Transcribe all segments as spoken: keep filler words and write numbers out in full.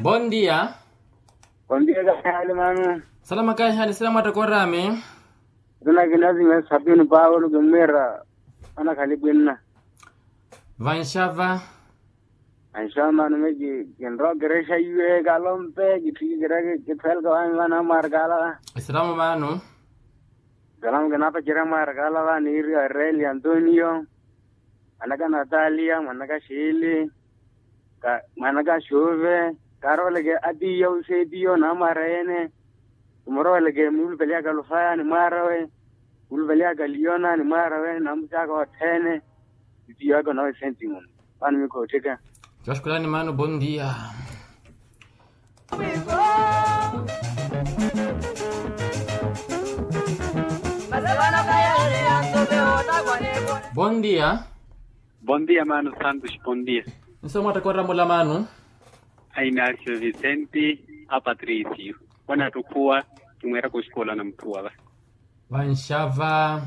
Bondia. Bondia kahihali mano. Salama kahihali sila mwattakora ami. Tina kinazimya sapini paulo kimwira. Ana khalipwinna. Vanxava. Vanxava mano meki kinrokerexa iwe kalompe kitthikikireke kithelka wami vana mwarkala. Esiramu mano. Esiramu kinapacerya mwarkala vani iri areli antonio. Mwanaka natalia mwanaka xili. Mwanaka xuve. Karooleke atiya uxetiyo namwarayene. Kumuroweleke mulupeliyaka lufaya ni mwaarawe. Mulupeliyaka liyona ni mwaarawe namusyaka othene. Itiyo aka onawe senti munu. Vano mikhoottheka. Coxkulani mano bondia. Bondia. Bondia mano santos bondia. Nso mwattakora mula mano. A inacio vicente a patricio. Wanattukhuwa. Kimweeraka oxikola na mutthuwa va. Vanxava.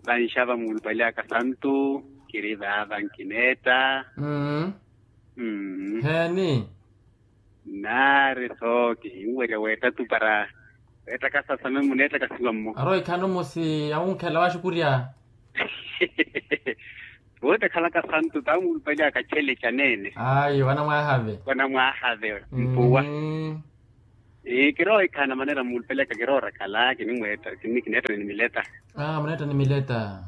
Vanxava muulupaliyaka santu. Kiri vaava nkineetta. Mmm. Mmm. Heeni. Nnaari sooki hinwerya weetta tu para. Weetta kasasame muneetta kasiwa mmo. Arowa ikhano musi awunkhela waxukurya. Woottekhalaka santu tawe muulupaliyaka chele chaneene. Ayo vanamwaahave. Mpuwa. Kirowa ikhana manera muulupaliyaka kiroorakhala kinimweetta. Kineetta ni miletta. Muneetta ni miletta.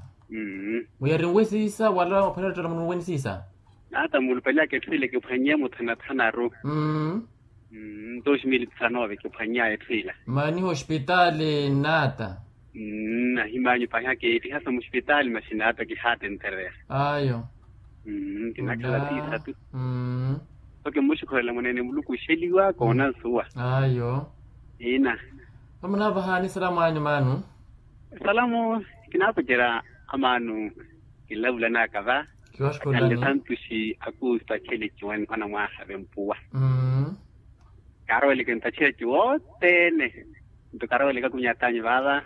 Muyari nwesiisa wala ophwera ottela munu wenisiisa. Naata muulupaliyaka etthu ile kiphwanye muthanathanaru. Mmm. Dos mil disanove kiphwany'aya etthu ila. Maaniha ospitaali nnaata. Mmm ahimanyu pahi akiitihasa muspitaali masi nnaata kihaatentereya. Ayo. Mmm kinakhala siisa tu. Mmm. Sooki mmuxikholela mwaneene muluku oxeliwa koona nsuwa. Ayo. Ina. Vamunavahaani salamu anyu maanu. Salamu. Kinaapacerya amaanu. Kinlavulanaka va. Kiwaxukhulani. Santuxi akuusta akhele ciwani anamwaha vempuwa. Kaaroweleke ntaxeya ciwothene. Nto kaaroweleke akunyat'anyu vaava.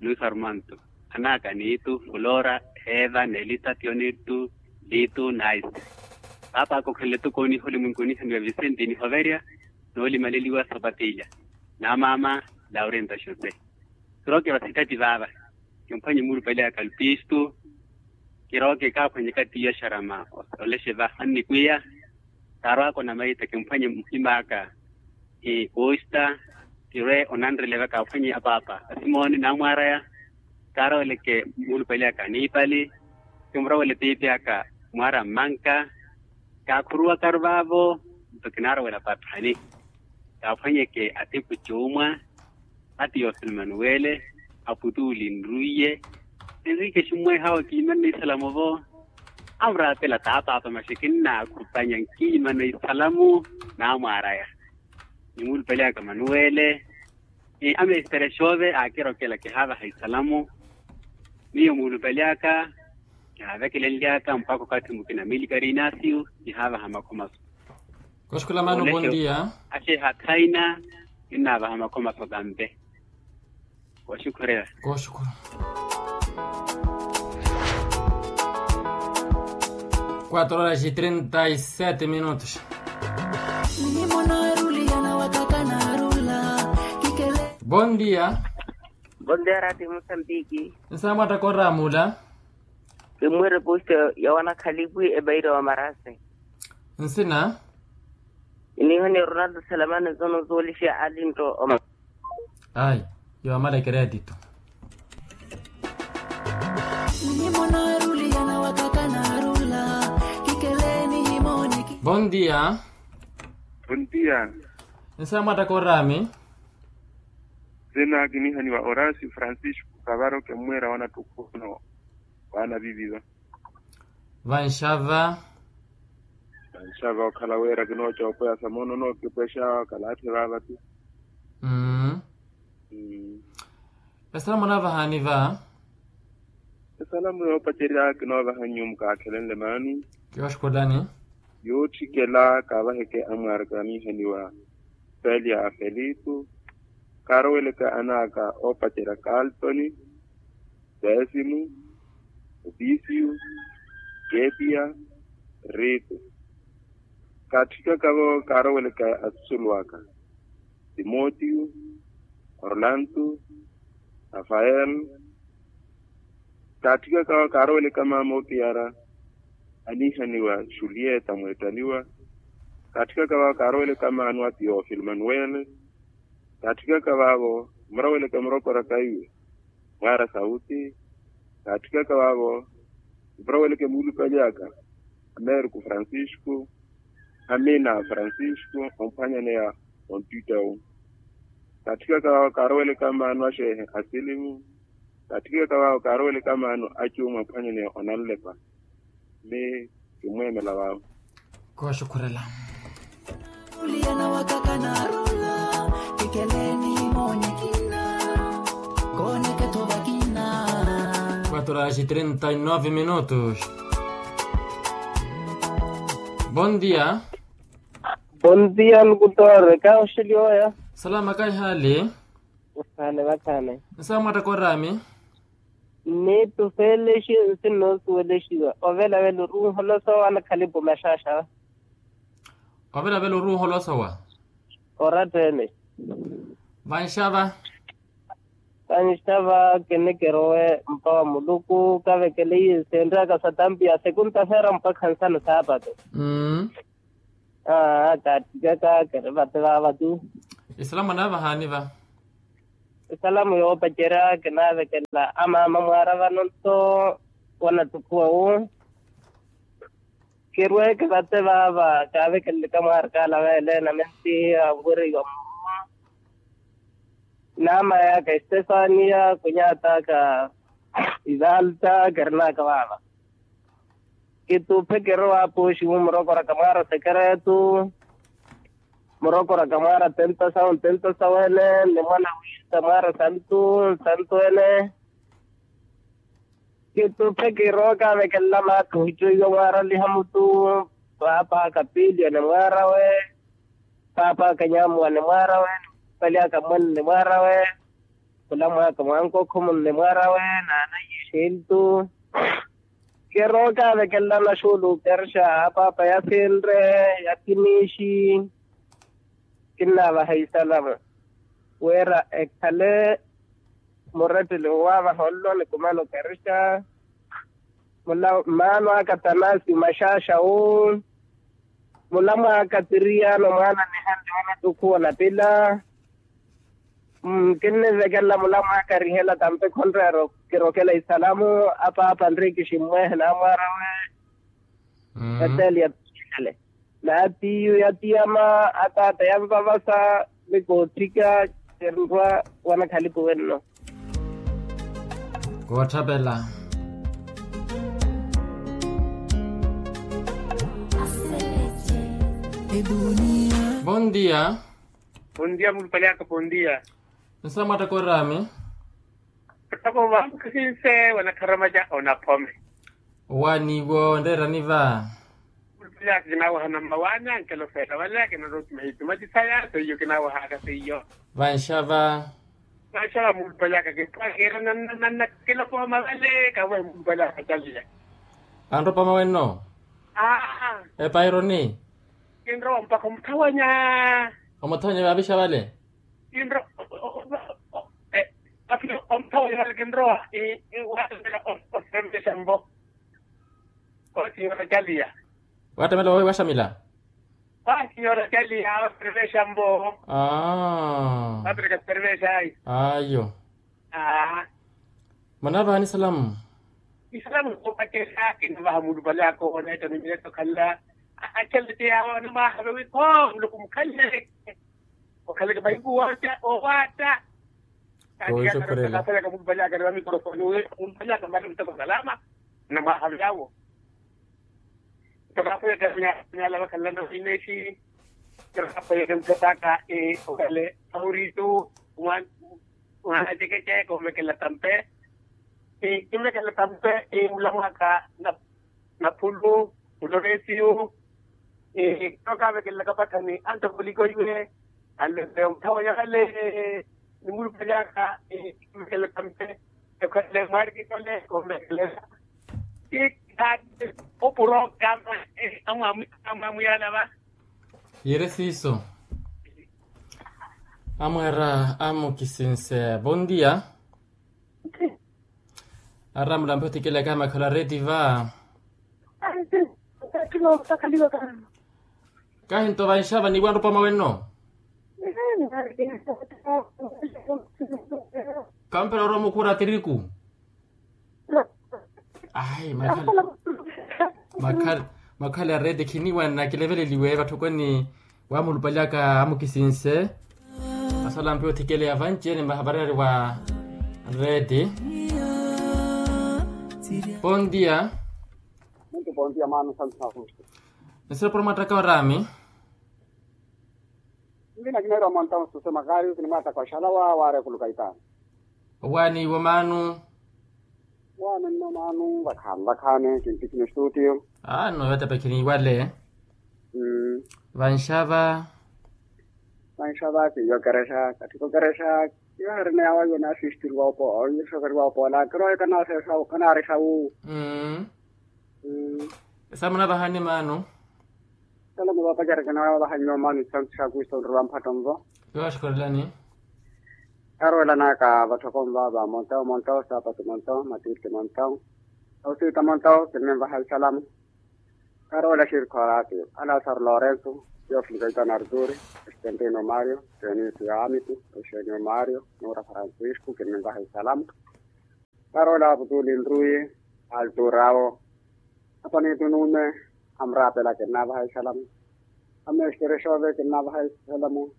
Luis armanto. Anaka niitu fulora, eva nelita tionirtu, litu naisi. Paapa akokhenle tukooniha olimwenku onihaniwa vicente nihoverya. Noolimaleliwa sapatilya. Namaama. Laurenta xose. Kirooke vasitati vaava. Kimphwanye muulupaliyaka lupistu. Kirooke kaaphwanyeka tiya xarama. Olexe va annikwiya. Kaarwaaka onamaita kimphwanye muhim'aka. Kuusta. Kirwe onanreleva kaaphwanye apaapa asimooni namwaraya. Kaaroweleke muulupaliyaka niipali. Kimurowele piipi aka mwaara mmanka. Kaakhuruwakaru vaavo. Nto kinaarowela pathani. Kaaphwanyeke atiku cuumwa. Ati yoselmanuwele. Aputuuli nrwiye. Enrique ximmwehawo kiimanne isalamu vo. Amuraapela taapaapa maxi kinnaakhupanya nkiimana isalamu. Namwaaraya. Nimuulupeleyaka manuwele. Amestere xoove aakirokela kihaavaha isalamu. Miyo muulupeleyaka. Kihaavekelenlyaka mpakha okathi mukina milikari inasiyu. Kihaavaha makhomaso. Koxikola mano bondia. Axeha thaina. Kinnaavaha makhomaso kampe. Koxikola. Quatro horas e trinta e sete minutos. Bondia. Bondia rati musambiki. Nsaamwatta koramula. Kimwire posta ya wanakhalipwi ebaira wa marase. Nsina. Inihoni ronaldo salamani zono zoolixia alinto oma. Ayi. Yoomala ekeretito. Bondia. Bondia. Nsaamwatta korami. Sina kinihaniwa orasi francisco kavaro kemwira wanattukhuno. Waana viviva. Vanxava. Vanxava okhala wira kinoocoopeya sa moono nookipwexa kalaatthi vaavati. Mmm. Esalamu onavahaani va. Esalamu yoopacerya kinoovaha nyumu kaakhelenle maani. Kiwaxukhulani. Yootthikela kaavaheke amwaaraka anihaniwa. Felia a felitu. Kaaroweleke anaaka oopacerya kaltoni. Décimo. Opicio. Ketia. Rito. Kaatthikaka-vo kaaroweleke asusulu aka, timotiyo, orlanto, rafael. Kaatthikaka-vo kaaroweleke amaama opiyara, aniihaniwa julieta mweettaniwa. Kaatthikaka-vo kaaroweleke amaano a teofilo manuwele. Kaatthikaka vaavo, muroweleke murokoraka iwe mwaara sauti. Kaatthikaka vaavo, muroweleke muulupali aka, ameriku francisco, amina francisco omphwanyaneya, onttitta wu. Kaatthikaka vaavo kaaroweleke amaano a xeehe asilimu. Kaatthikaka vaavo kaaroweleke amaano a cuumu amphwanyaneya onanlepa. Ni kimmweemela vaavo. Kooxukhurela. Uli anawakhaka naarula, kikeleeni moonyekina, kooneke tho vakina. Quatro horas e trinta e nove minutos. Bon dia. Bon dia lukutore kaoxeliwaya. Salama kaihali. Vakhane vakhane. Nsaamwatta korami. Nni tufeelexe nsi nnoosuwelexiwa ovelavela oruuholosowa anakhalipu maxaxa. Ovelavela oruuholosowa. Oratta ene. Vanxava. Vanxava. Kinikirowe mpa wa muluku kavekeleiye senraka satampiya sekunta feera mpakha nsano saapato. Aa kaatthikaka kiri vate vaava tu. Isalamu anaavahani va. Isalamu yoopacerya kinaavekela amaama mwaara vano nto wanattukhuwa wu. Kirweeke vate vaava kaavekeleleke mwaara kaala veele na mentihiya nvweriwa muruma. Naama yaka estefania kunyataka ivalta kirinaka vaava. Kituphe kirowa apuuxiwu murokoraka mwaara sekeretu. Murokoraka mwaara tentasawu ntentasawu ene ni mwana wisa mwaara santu nsantu ene. Kituphe kirowa kaavekelela maathuhittiwe mwaara lihamutu. Paapa kapiliyo ni mwaara we. Paapa kanyamuwa ni mwaara we. Pali akamwene ni mwaara we. Mulamwaaka mwankokho munne mwaara we naana iye xintu. Kirowa kaavekelela naxuulu kerxa apaapa yasinre yathimixi. Kinnaavaha isalamu wira ekhale murettele owaavaha onlo nikumano kerxa. Mmaano aka tanasi maxaxa wu. Mulamwaaka tiriyaano mwaana nihanle wanattukhuwa onapila. Kinnivekelela mulamwaaka rihela tampe khonreero kirokela isalamu. Apaapa nrikiximmwehe naamwaara we. Eteli ya tale naatiyu yatiyama ataata yanvavasa. Ni kootthika kinrwa wanakhalipu wenno. Kootthapela. Bon dia. Bon dia mulupali aka bon dia. Nsaamwatta korami. Ottoko vamukhisinse wanakharamaca onaphome. Owaaniwo nreerani va. Mulupali aka kinaawahana mmawaani ankelo feela vale akinarootima itumati saya seiyo kinaawahaka seiyo. Vanxava. Vanxava mulupali aka kintwakeera nanna nanna kilokooma vale kawe mulupali aka caliya. Anropa mawenno. Aa. Epaironi. Kinrowa mpakha omuthawanya. Omuthawanya vaavixa vale. Kinrowa omuthawanya vale kinrowa. Waattamela oseremexa mpo. Osinyoora caliya. Waattamela wawe waxamila. Wasinyoora caliya waseremexa mpo. Aa. Wapereka seremexa ayi. Ayo. Aa. Manaavahani salamu. Isalamu koopacerya kinavaha mulupali aka oneetta ni mineetta okhala. Achalete yawe onamwaahave wi kho muluku mukhalele. Okhaleke mahiku wootta owaatta. Kooxukhurela. Kafelaka mulupali aka ni vamikorofoni wi mulupali aka mali muteko salama. Namwaahave yawo. Tokafweka nyala vakhalana vinexi. Tokafweka muthataka. Okale auritu mwana cekeceke omekela tampe. Kimekela tampe mulamwaka. Naphulu muloresiyu. Tokaavekelelaka pathani antokolikoiwe. Anlese omuthawa nyakale. Nimulupelaka. Kimekela tampe. Ekhwele mwarikitole komekelela. Kikhaati opurokama. Amwamuyana va. Yiire siiso. Amwara amukisinse bondia. Aramulampe othikela kahi makhala reti va. Kahi nto vanxava niiwanropa mwawenno. Kampela orowa mukhura tiriku. Ayi makhala makhala ya reti khiniwanna kileveleliwe vatthokoni. Wamulupaliyaka amukisinse. Asalampi othikeleya vanci-ene mahavariyari wa reti. Pontia. Muntu pontia maano santu na kustu. Nisira pura mwattaka orami. Nvina kinaira monta mususe makari usi ni mwattaka oxalawa waari ekuluka itaani. Owaani iwo maanu. Waani nno maanu vakhaani vakhaani kintikini studio. Aano yotepekhini iwale. Vanxava. Vanxava kiiyo kerexa kathiko kerexa. Kiyo harina yawa yo naasistiriwa opo oyixokeriwa opoola kirowe kanaarexa wu. Esamu navahani maanu. Kala muvapacereke nawe wavahanyiwa maanu isantu xa kristu onrula mphatto nvo. Yowaxikorelani. Karwelanaka vatthoko nvava montao montao sapatu montao matirti montao. Ausiita montao kinnimvaha isalamu. Karwela xirikho arati alasaro lorenso. Teofilo kaitano arturi. Estentino mario. Tenisio amiti. Euxenio mario. Nura francisco kinnimvaha isalamu. Karwela aputuli nruyi. Alturao. Apanitu nume. Amrapela kinnavaha isalamu. Amestere xove kinnavaha isalamu.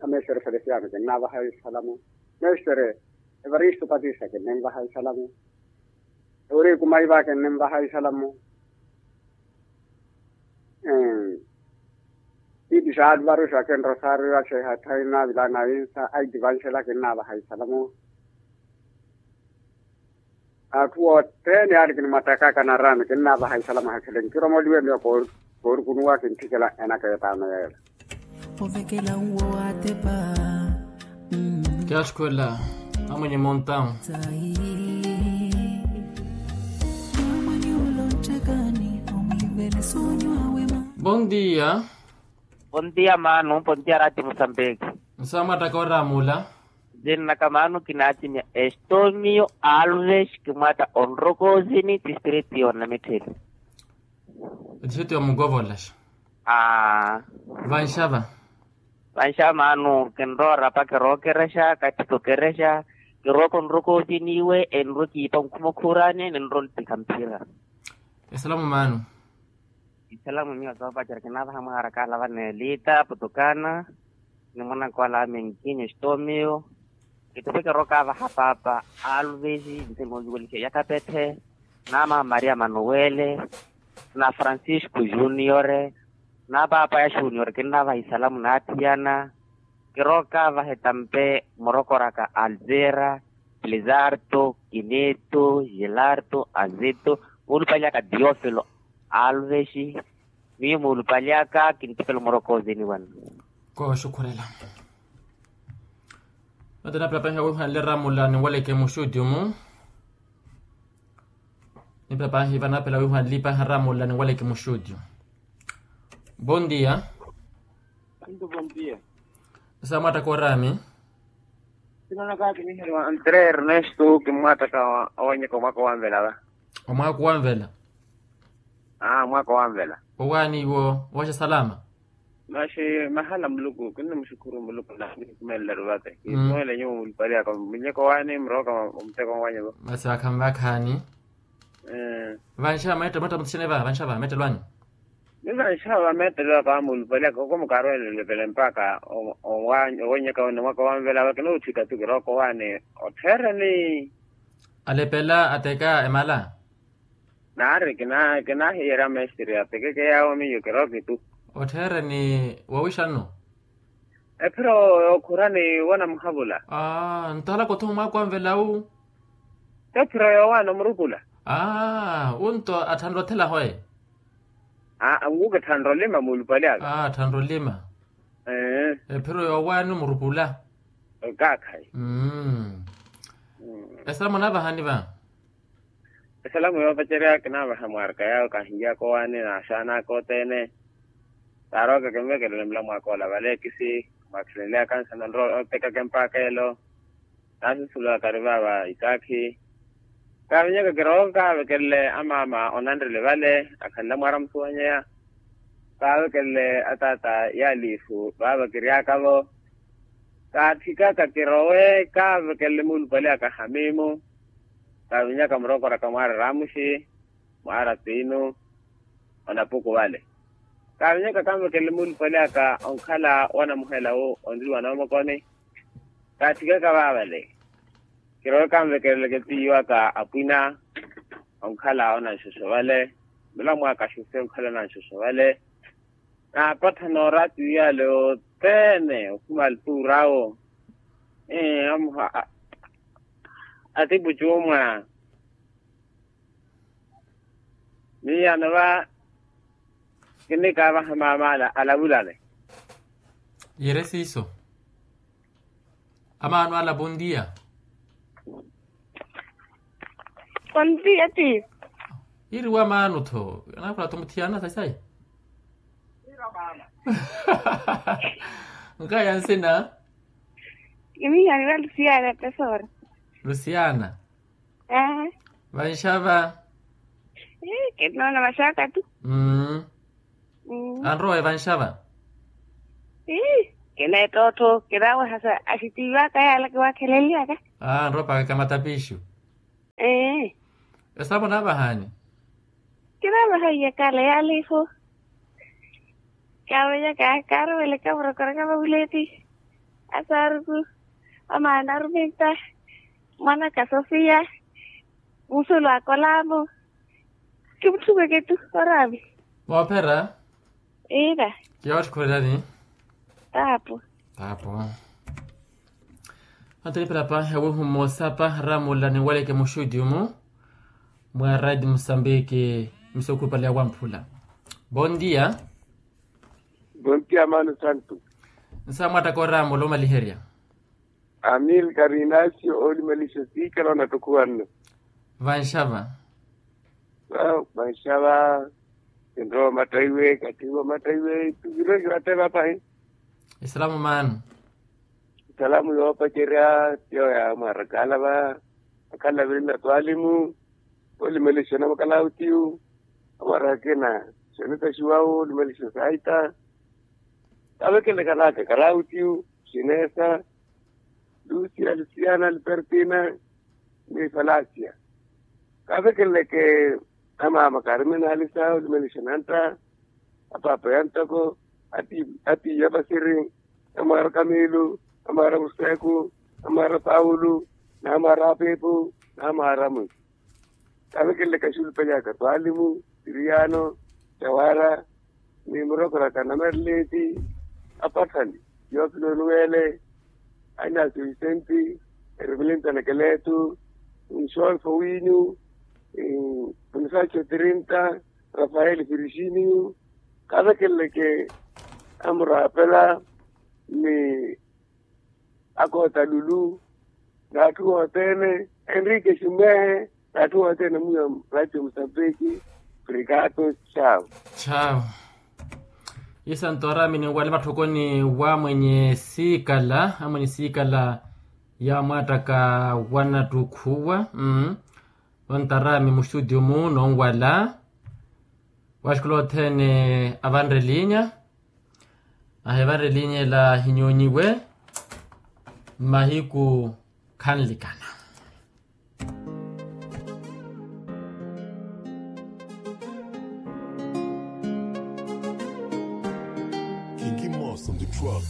Amestere felesiano kinnavaha isalamu. Mestere evaristo patista kinnimvaha isalamu. Euriku maiva kinnimvaha isalamu. Titi xaalvaru xakenrosaru axehathaina vilana insa aitivanxela kinnavaha isalamu. Atthu othene yaari kinimwattaka kanarani kinnavaha isalamu ahakhele nkiromoliwe miyo koorukunuwa kintthikela enaka etaano yeela. Ovekela uwo waatepa. Kiyaxukhwela amwenye montawu. Bondia. Bondia maanu bondia rati musambeki. Nsamwattaka oramula. Zinnaka maanu kinaacimya estonio alves kimwatta onrokosini tistriti yonna mittheli. Etixitu ya mukovolaxa. Aa. Vanxava. Vanxava maanu kinroorapa kirookerexa kathiko kerexa. Kirooka onrokosini iwe enrwe kiipa nkhuma okhurani ninro ontikha mphira. Esalamu maanu. Isalamu miyo soopacerya kinaavaha mwaharakala vaneelita putukana. Ni mwanankola amenkinyo estomio. Kitupe kirokaavaha paapa alves nse moonziwelixe yakapetthe. Naama maria manuwele. Na francisco juniore. Na paapa ya juniore kinnaavaha isalamu naathiyana. Kirokaavaha etampe murokoraka alzera. Plizarto kineto gilarto azito. Muulupaliyaka tiofilo alves. Miyo muulupaliyaka kintipelo muroko oziniwana. Kooxukhurela. Mate napila pahi awihanle ramula ninwaleke muxuti omu. Nipila pahi vanapila awihanle pahi ramula ninwaleke muxuti. Bondia. Nto bondia. Samwattaka orami. Sinonaka kiniherwa antre ernesto kimwattaka. Owanyeka omwaka owanvela va. Omwaka owanvela. Aa mwaka owanvela. Owaani iwo waxa salama. Maxi mahala muluku kinnamuxukhuru muluku na kinikumeleru vate kiisuwele nyuwo mulupaliyaka munyeko waani murooka. Omuteko wanyu vo. Masi vakhaani vakhaani. Vanxava meettelo mwatta muthixene va vanxava meettelo anyu. Ni vanxava meettelo aka mulupaliyaka oko mukarwele olepele mpakha. Owenyeka wene mwaka owanvela vakina otthika tu kirooka owaani. Otthereni. Alepela ateka emala. Naari kinahiyerya mestre atekeke yaawo miyo kirooki tu. Otthereni wawixanno. Ephiro yookhurani wanamuhavula. Nto halaka othuma mwaako anvela wu. Ephiro yoowaana omurupula. Wu nto atthanre othela hoye. Aa nkuke tthanre olima muulupali aka. Tthanre olima. Ephiro yoowaana omurupula. Kaakhayi. Esalamu naavahani va. Esalamu yoopacerya kinaavaha mwaarika yaawe kahinlyaka owaani n'axaana aka othene. Kaaroka kinvekelele mulamwaaka ola vale kisi mwaakhilenlyaka nsana nrowa otekaka empaaka elo. Naasusuliwaka ari vaava itaakhi. Kaavinyaka kirooka kaavekelele amaama onanrele vale akhanle mwaara musuwanyeya. Kaavekelele ataata yaaliifu vaava kiryaka-vo. Kaathikaka kirowe kaavekelele muulupale aka hamimu. Kaavinyaka murokoraka mwaara ramuxi mwaara tiinu. Onapuku vale kaavinyaka kanvekelele muulupale aka onkhala wanamuhela wu onriwa noomokoni. Kaathikaka vaavale kirowe kanvekeleleke tiiwaka apwina. Onkhala onanxoxo vale mulamwaaka axuse onkhala onanxoxo vale. Naapatthana oraatiyo yale yothene okhuma alituurawo. Amuha atipucuumwa. Miiyano va kinikaavaha maamaala alavulale. Yere siiso. Amaano ala pontiya. Pontiya ti. Iriwa maano tho. Anakhula tho muthiyana sayi sayi. Nkaya nsina. Kimihani va lusiana tesora. Lusiana. Vanxava. Kinoona vaxaka tu. Anrowa evanxava. Kineettottho kinawehasa axitiiwaka yaala kiwakheleliyaka. Anrowa paaka kamatapiixu. Esavo naavahani. Kinavaha iyakala yaalifu. Kaavenyaka kaaruweleka murokoraka vavuleti. Asaaruku. Amaana aruminta. Mwanaka sofia. Musulu akolamu. Kimutthumeke tu oraami. Moophera. Iira. Kiyootthi khurerani. Taapu. Taapu. Antonio pelapa ewihu mmosa pa ramula ninwaleke muxuti umu. Mwa raiti musambiki. Misokhupale ya wamphula. Bontia. Bontia mano santu. Nsa mwattaka oramu olomaliherya. Amil karinacio olimalisya siikala onattukhuwanno. Vanxava. Vanxava. Enrowa mattaiwe kattihiwa mattaiwe tuvirwe kivatteva pahi. Esalamu mano. Esalamu yoopacerya tiyo ya mwarakala va. Akhala virinna twalimu. Olimelesya na makalawutiyu. Amwarakena. Seneta xiwawu olimelesya saita. Kavekelekana aka kalawutiyu. Xinesa. Lusia lusiana lupertina. Ni falasia. Kavekeleke. Amaama kaarime naalisa olimelesya nantta. Apaapa yanttoko. Atiiya pasiri. Amwaara kamiilu. Amwaara museku. Amwaara pawulu. Namwaara apiipu. Namwaara mwi. Kavekelelaka xulupali aka twalimu siriyano. Tawara. Ni murokoraka namerleti. Apatthani. Yoopilo nuwele. Anasio visenti. Eremilenta nakeletu. Nxolfo winyu. Bonifacio tirinta. Rafael virginiu. Kavekeleleke. Amuraapela. Ni akoota lulu. N'atthu othene. Enrique ximwehe. N'atthu othene muya muraatio musambiki. Obrigado. Chawo. Chawo. Isanto araami ninwale matthokoni wa mwenye siikala amwenye siikala. Ya mwaattaka wanattukhuwa. Ontaraami muxuti omu nonwala. Waxikula othene avanre linya. Ahevanre linya ela hinyonyiwe. Mmahiku khanlikana. Kingi mosa ndi truck.